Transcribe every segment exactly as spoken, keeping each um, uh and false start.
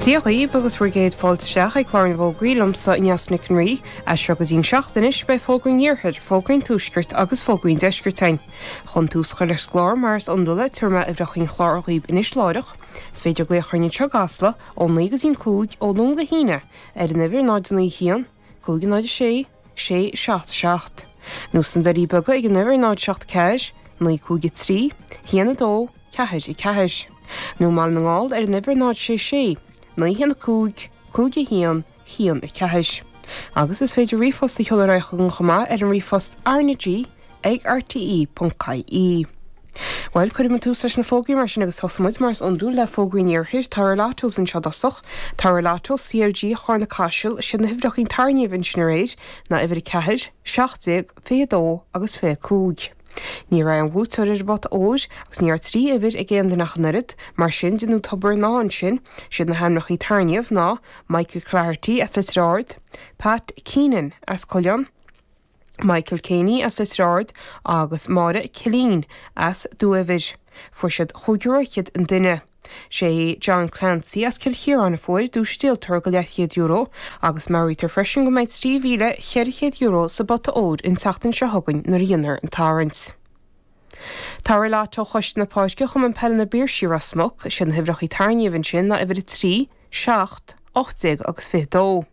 Dia dhaoibh agus bhur gcéad fáilte isteach ag clár na bhfógraí liomsa Neasa Nic an Rí, as seo go dtí'n seacht anois beidh fógraí an iarthair, fógraí an tuaiscirt agus fógraí an deiscirt againn. Chun tús a chur leis an gclár mar is iondúil tabharfaidh mé uimhreacha an chláir dhaoibh anois láithreach. Is féidir glaoch orainn anseo i gCasla ó naoi go dtí'n cúig ó Luan go hAoine ar an uimhir náid naoi haon, cúig náid a sé, sé seacht seacht. Nó sna Doirí Beaga ag an uimhir náid seacht ceathair, naoi cúig a trí, haon a dó, ceathair a ceathair. Nó i mBaile na nGall ar an uimhir náid sé sé, naoi haon a cúig, cúig a haon, haon a ceathair. Agus is féidir ríomhphost a sheoladh ar aghaidh chugainn chomh maith ar an ríomhphost RnaG ag rte ponc ie. Bhuel, cuirfidh muid tús leis na fógraí mar sin agus tosóidh muid mar is iondúil le fógraí an iarthair. Tower Lottos anseo i dtosach. Tower Lotto CLG Charna Caiseal, siad na huimhreacha tairngimh ansin aréir ná uimhir a ceathair, seacht déag, fiche a dó agus fiche a cúig. Ní raibh aon bhuaiteoir ar an bpota óir agus ní raibh trí uimhir ag aon duine ach an oiread, mar sin déanadh tobar ná ansin, siad na hainmneacha tairngimh ná Michael Cloherty as Leitir Ard, Pat Keenan as Cuilleán, Michael Caney as Leitir Ard agus Máire Killeen as Dumha Eibhir. Fuair siad chúig euro fhichead an duine. Sé John Clancy as Cill Chiaráin a fuair duais an díoltóra go leathchéad euro agus meabhraítear freisin go mbeidh trí mhíle cheithre chéad euro sa bpota óir an tseachtain seo chugainn nuair a dhéanfar an tarraingt. Tower Lotto Choiste na Páirce Chumann Peile na bPiarsaigh Ros Muc, siad na huimhreacha tairngimh ansin ná uimhir a trí, seacht, ocht déag agus fiche dó.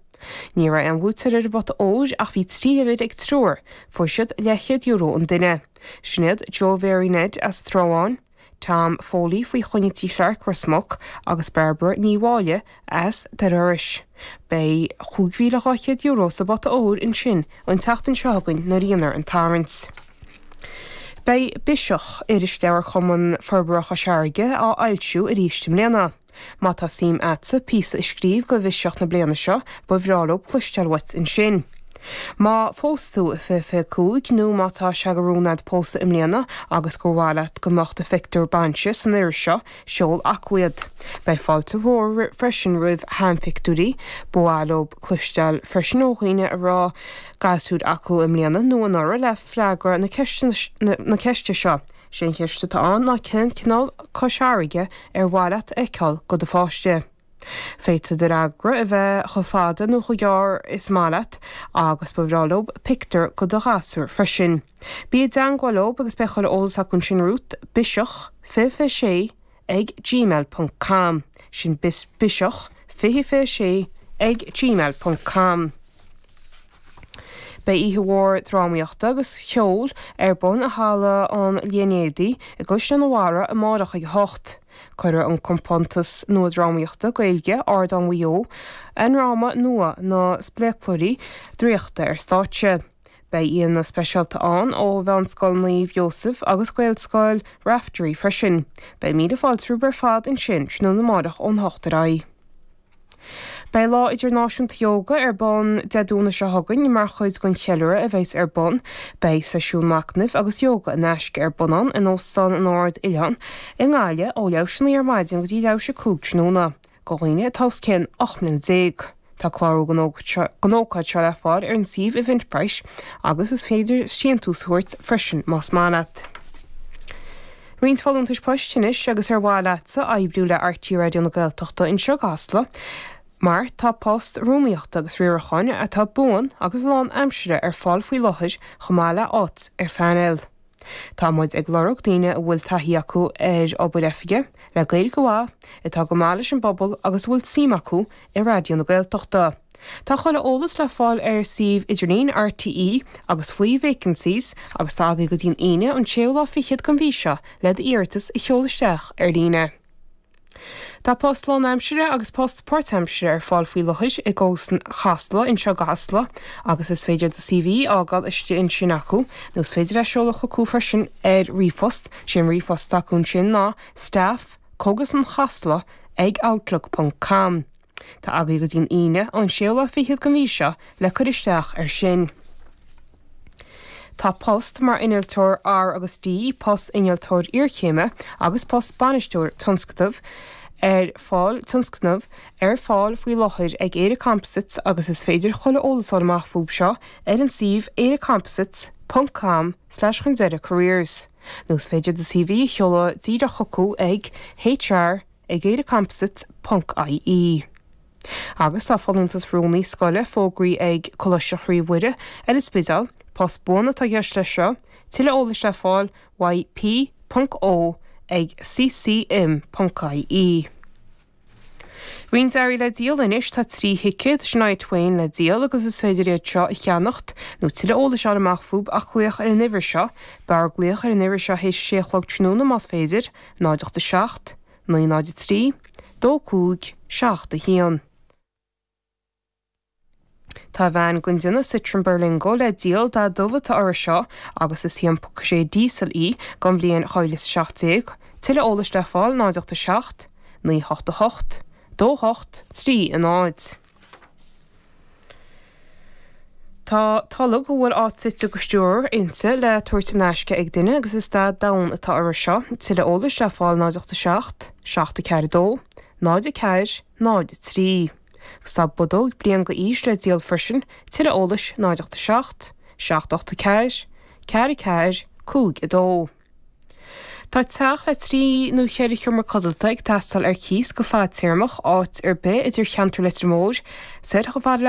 Ní raibh aon bhuaiteoir ar an bpota óir ach bhí trí uimhir ag triúr, fuair siad leathchéad euro an duine. Sin iad Joe Mhary Ned as an Trá Bháin, Tom Foley faoi choinne Tí Chlark Ros Muc agus Barbara Ní Mháille as Doire Iorrais. Beidh chúig mhíle dhá chéad euro sa bpota óir ansin an tseachtain seo chugainn nuair a dhéanfar an tarraingt. Beidh Biseach, irisleabhar Chumann Forbartha Chois Fharraige, á fhoilsiú arís i mbliana. Má tá suim agatsa píosa a scríobh go Bhiseach na bliana seo, ba bhreá leo cloisteáil uait ansin. Má phós tú i fiche fiche cúig nó má tá sé de rún agat pósadh i mbliana agus gur mhaith leat go mbeadh do phictiúr bainse san iris seo, seol chucu iad. Beidh fáilte mhór freisin roimh sheanphictiúirí, ba mhaith leo cloisteáil freisin ó dhaoine a raibh gasúir acu i mbliana nó anuraidh le freagra na na ceiste seo. Sé an cheist atá ann ná cén cineál Cois Fharraige ar mhaith leat a fheiceáil go do pháiste. Féadfaidh do fhreagra a bheith chomh fada nó chomh gearr is maith leat agus ba bhreá leo pictiúr go do ghasúr freisin. Bí i dteagmháil leo agus beidh chuile eolas acu ansin romhat biseach fiche fiche sé ag gmail ponc com. Sin biseach fiche fiche sé ag gmail ponc com. Beidh oíche mhór drámaíochta agus cheoil ar bun i Halla an Línéadaigh i gCaisleán an Bharraigh amárach ag a hocht. Cuirfidh an compántas nua drámaíochta Gaeilge Ardán Mhaigh Eo a ndráma nua Na Spléaclóirí Draíochta ar stáitse. Beidh aíonna speisialta ann ó Mheánscoil Naomh Joseph agus Gaelscoil Raifteirí freisin. Beidh míle fáilte romhaibh ar fad ansin tráthnóna amárach ón hocht ar aghaidh. Beidh Lá Idirnáisiúnta Ióga ar bun Dé Domhnaigh seo chugainn mar chuid den cheiliúradh a bheas ar bun. Beidh seisiún machnaimh agus ióga in aisce ar bun ann in Óstán an Ard Oileán i nGaillimh ó leathuair tar éis a naoi ar maidin go dtí leathuair tar éis a cúig tráthnóna. Do dhaoine atá os cionn ocht mbliana déag. Tá clárú don ócáid seo le fáil ar an suíomh Eventbrite agus is féidir síntiús a thabhairt freisin más maith leat. Roinnt folúntais poist anois agus ar mhaith leatsa oibriú le RTÉ Raidió na Gaeltachta anseo i gCasla, mar tá post rúnaíochta agus riaracháin atá buan agus lán aimsire ar fáil faoi láthair chomh maith le áit ar phainéal. Tá muid ag lorg daoine a bhfuil taithí acu ar obair oifige, le Gaeilge mhaith, atá go maith leis an bpobal agus a bhfuil suim acu i Raidió na Gaeltachta. Tá chuile eolas le fáil ar suíomh idirlín RTÉ agus faoi vacancies agus tá agaibh go dtí'n Aoine an séú lá fichead den mhí seo le d'iarratas a sheoladh isteach ar líne. Tá post lánaimsire agus post páirtaimsire ar fáil faoi láthair i gCógaslann Chasla anseo i gCasla agus is féidir do CV a fhágáil istigh ansin acu nó is féidir é a sheoladh chucu freisin ar ríomhphost, sé an ríomhphost acu ansin ná staff cógaslann chasla ag outlook ponc com. Tá agaibh go dtí'n Aoine an séú lá fichead den mhí seo le cur isteach air sin. Tá post mar innealtóir R agus D, post innealtóir iarchéime agus post bainisteoir tionscadaimh ar fáil tionscnamh ar fáil faoi láthair ag Éire Composites agus is féidir chuile eolas a fháil amach fúthu seo ar an suíomh eirecomposites ponc com slash chun deireadh careers. Nó is féidir do CV a sheoladh díreach chucu ag HR ag eirecomposites ponc ie. Agus tá folúntas rúnaí scoile fógraithe ag Coláiste Chroí Mhuire ar an Spidéal, post buan atá i gceist leis seo, tuilleadh eolais le fáil uaidh P ponc O ag ccm ponc ie. Roinnt earraí le díol anois tá trí thicéad Shania Twain le díol agus is féidir iad seo a cheannacht nó tuilleadh eolais a fháil amach fúthu ach glaoch ar an uimhir seo, b'fhearr glaoch ar an uimhir seo théis sé a chlog tráthnóna más féidir, náid ocht a seacht, naoi náid a trí, dó cúig, seacht a haon. Tá veain den déanamh Citroën Berlingo le díol dath dubh atá uirthi seo agus is a haon ponc sé díosal í den bhliain dhá mhíle is a seacht déag, tuilleadh eolais le fáil náid ocht a seacht, naoi hocht a hocht, dó hocht, trí a náid. Tá tolg a bhfuil áit suite go stiúir inti le tabhairt in aisce ag duine agus is dath donn atá uirthi seo, tuilleadh eolais le fáil náid ocht a seacht, seacht a ceathair a dó, náid a ceathair, náid a trí. Agus tá bodóg bliain go aois le díol freisin, tuilleadh eolais náid ocht a seacht, seacht ocht a ceathair, ceathair a ceathair, cúig a dó. Tá teach le trí nó cheithre sheomra codlata ag teastáil ar cíos go fadtéarmach, áit ar bith idir cheantar Leitir Móir, soir chomh fada le